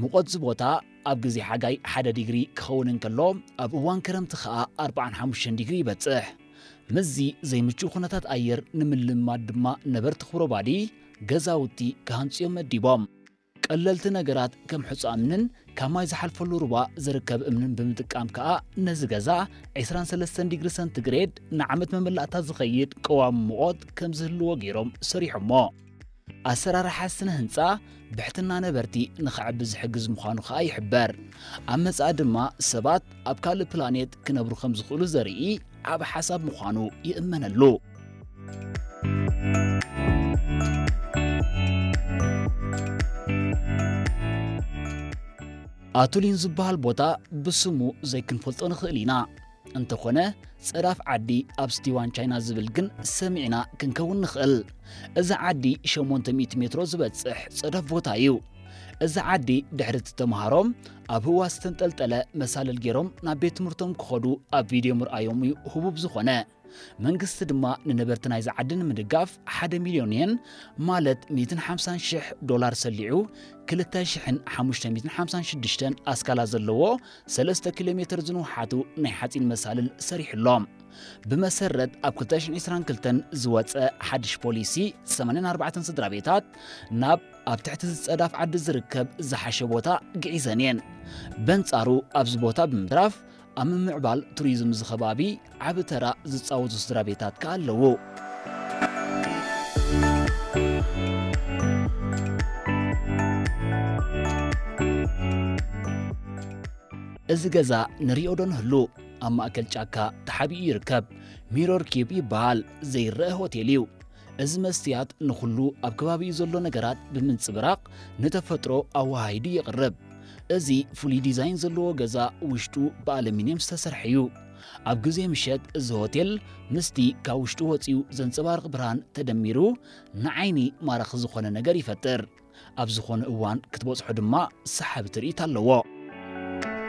ሙቐት እዚ ቦታ ኣብ ግዜ ሓጋይ ሓደ ዲግሪ ክኸውን እንከሎ፣ ኣብ እዋን ክረምቲ ከኣ ኣርባዓን ሓሙሽተን ዲግሪ ይበጽሕ። ምስዚ ዘይምቹእ ኩነታት ኣየር ንምልማድ ድማ ነበርቲ ኩብሮባዲ ገዛውቲ ክሃንጹ እዮም መዲቦም። ቀለልቲ ነገራት ከም ሕጹ እምንን ካብ ማይ ዝሓልፈሉ ሩባ ዝርከብ እምንን ብምጥቃም ከኣ ነዚ ገዛ ዕስራን ሰለስተን ዲግሪ ሰንቲግሬድ ንዓመት መመላእታ ዝኸይድ ቀዋሚ ሙቐት ከም ዝህልዎ ገይሮም ሰሪሖሞ። ኣሰራርሓ ስነ ህንጻ ብሕትና ነበርቲ ንኽዕቢ ዝሕግዝ ምዃኑ ከኣ ይሕበር። ኣብ መጻኢ ድማ ሰባት ኣብ ካልእ ፕላኔት ክነብሩ ከም ዝኽእሉ ዘርኢ ዓቢ ሓሳብ ምዃኑ ይእመነሉ። ኣቱሊን ዝበሃል ቦታ ብስሙ ዘይክንፈልጦ ንኽእል ኢና። እንተኾነ፣ ጸዳፍ ዓዲ ኣብ ስቲዋን ቻይና ዝብል ግን ሰሚዕና ክንከውን ንኽእል። እዚ ዓዲ ሸሞንተ ሚእቲ ሜትሮ ዝበጽሕ ጸዳፍ ቦታ እዩ። እዚ ዓዲ ድሕሪ እቲ ተምሃሮ ኣብ ህዋ ዝተንጠልጠለ መሳልል ገይሮም ናብ ቤት ትምህርቶም ክኸዱ ኣብ ቪድዮ ምርኣዮም እዩ ህቡብ ዝኾነ። መንግስቲ ድማ ንነበርቲ ናይዚ ዓዲ ንምድጋፍ ሓደ ሚልዮን የን፣ ማለት ሚእትን ሓምሳን ሽሕ ዶላር ሰሊዑ፣ ክልተ ሽሕን ሓሙሽተ ሚእትን ሓምሳን ሽዱሽተን ኣስካላ ዘለዎ ሰለስተ ኪሎ ሜትር ዝንውሓቱ ናይ ሓጺን መሳልል ሰሪሑሎም። ብመሰረት ኣብ ክልተ ሽሕን ዕስራን ክልተን ዝወጸ ሓድሽ ፖሊሲ፣ ሰማንያን ኣርባዕተን ስድራ ቤታት ናብ ኣብ ትሕቲ ዝጸዳፍ ዓዲ ዝርከብ ዝሓሸ ቦታ ግዒዘን እየን። በንጻሩ ኣብዚ ቦታ ብምትራፍ ኣብ ምምዕባል ቱሪዝም እዚ ከባቢ ዓቢ ተራ ዝጻወቱ ስድራ ቤታት ከኣ ኣለዉ። እዚ ገዛ ንሪኦ ዶ ንህሉ? ኣብ ማእከል ጫካ ተሓቢኡ ይርከብ። ሚሮር ኪዩብ ይበሃል። ዘይረአ ሆቴል እዩ። እዚ መስትያት ንኹሉ ኣብ ከባቢኡ ዘሎ ነገራት ብምንጽብራቕ ንተፈጥሮ ኣወሃሂዱ የቕርብ። እዚ ፍሉይ ዲዛይን ዘለዎ ገዛ ውሽጡ ብኣሉሚንየም ዝተሰርሐ እዩ። ኣብ ግዜ ምሸት እዚ ሆቴል ምስቲ ካብ ውሽጡ ወጺኡ ዘንጸባርቕ ብርሃን ተደሚሩ ንዓይኒ ማራኺ ዝኾነ ነገር ይፈጥር። ኣብ ዝኾነ እዋን ክትበጽሖ ድማ ሰሓቢ ትርኢት ኣለዎ።